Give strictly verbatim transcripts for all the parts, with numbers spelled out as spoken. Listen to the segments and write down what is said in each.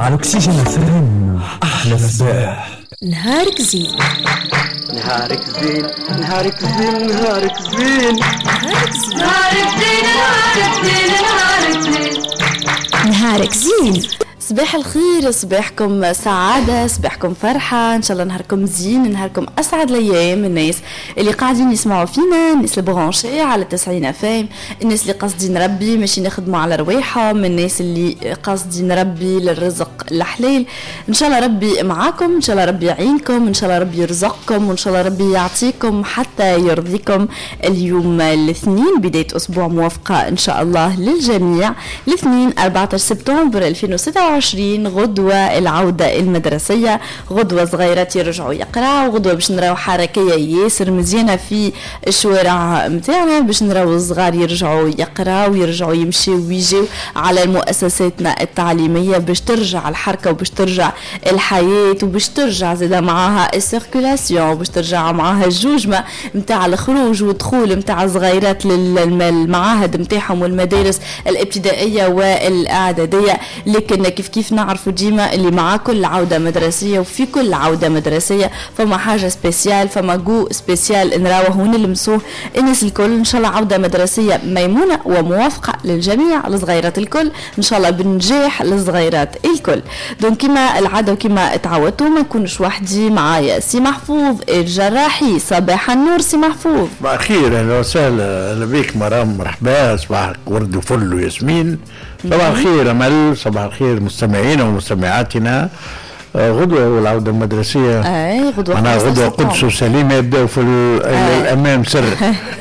على اكسجين اف ام، احلى صباح. نهارك زين. نهارك زين، نهارك زين، نهارك زين. نهارك زين. نهارك زين، نهارك زين، نهارك زين. نهارك زين. صباح الخير، صباحكم سعادة، صباحكم فرحة، إن شاء الله نهاركم زين، نهاركم أسعد الأيام. الناس اللي قاعدين يسمعوا فينا، الناس اللي branchés على تسعين F M، الناس اللي قاصدين ربي ماشي نخدموا على رواحهم، الناس اللي قاصدين ربي للرزق الحلال، إن شاء الله ربي معاكم، إن شاء الله ربي يعينكم، إن شاء الله ربي يرزقكم، وإن شاء الله ربي يعطيكم حتى يرضيكم. اليوم الاثنين، بداية أسبوع موفقة إن شاء الله للجميع. الاثنين أربعة عشر سبتمبر ألفين وستة وعشرين، غدوة العودة المدرسية، غدوة صغيرات يرجعوا يقراوا، غدوة باش نراو حركية ياسر مزيانة في الشوارع متاعنا، باش نراو الصغار يرجعوا يقراوا ويرجعوا يمشيوا ويجيو على مؤسساتنا التعليمية، باش ترجع الحركة وباش ترجع الحياة وباش ترجع زادا معاها ال circulation، باش ترجع معاها الجوجمة متاع الخروج والدخول متاع الصغيرات للمعاهد متاعهم والمدارس الابتدائية والإعدادية. لكن كيف كيف نعرفوا ديما اللي مع كل عودة مدرسية وفي كل عودة مدرسية فما حاجة spéciale، فما جو spécial نراوه ونلمسوه الناس الكل. إن شاء الله عودة مدرسية ميمونة وموافقة للجميع، للصغيرات الكل، إن شاء الله بنجاح للصغيرات الكل. donc كما العادة وكما تعودتوا، ما نكونش وحدي، معايا سي محفوظ الجراحي. صباح النور سي محفوظ. صباح الخير، اهلا وسهلا، اهلا بك مرام، مرحبا، صباحك ورد وفل وياسمين. صباح الخير امل، صباح الخير مستمعينا ومستمعاتنا. آه، غدوة والعودة المدرسية. اي، غدوة. معناها غدوة قدس وسليمة يبداو في الأمام سر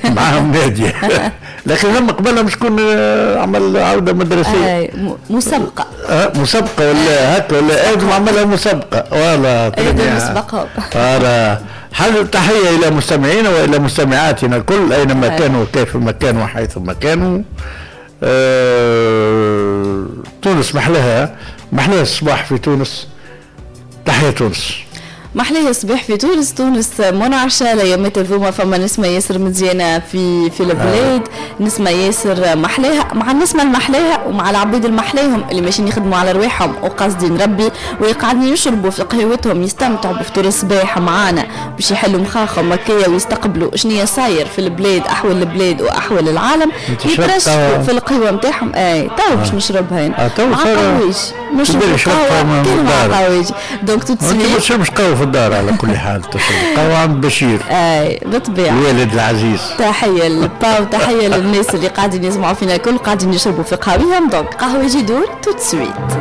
معاهم نادية، لكن لما قبلها مش شكون آه، عمل عودة مدرسية؟ اي، مسابقة. آه، مسابقة ولا هكا ولا ادم عملها مسابقة ولا ادم مسبقة. voilà، حل تحية إلى مستمعينا وإلى مستمعاتنا الكل أينما كانوا، كيفما كانوا، حيثما كانوا. أه تونس محلاها، محلاها الصباح في تونس، تحية تونس. محلاه الصباح في تونس، تونس منعشة الايامات الذوما، فما نسمة ياسر مزيانة في في البلاد، نسمة ياسر محلاها. مع النسمة المحلاها ومع العبيد المحلاهم اللي ماشيين يخدموا على رواحهم وقاصدين ربي ويقعدين يشربوا في قهوتهم، يستمتعوا بفطور الصباح معانا باش يحلوا مخاخهم هكايا ويستقبلوا شنيا صاير في البلاد، احوال البلاد واحوال العالم، يترشفوا في القهوة نتاعهم. اي، تو باش نشربها آه مع قهويش، نشرب قهوة كان مع قهويش donc tout de suite. ما تشربش قهوة في الدار، على كل حال تشرب قهوة عند بشير. اي، بالطبيعة. الوالد العزيز. تحية للبا وتحية للناس اللي قاعدين يسمعوا فينا الكل، قاعدين يشربوا في قهويهم. donc قهوة يدور tout de suite.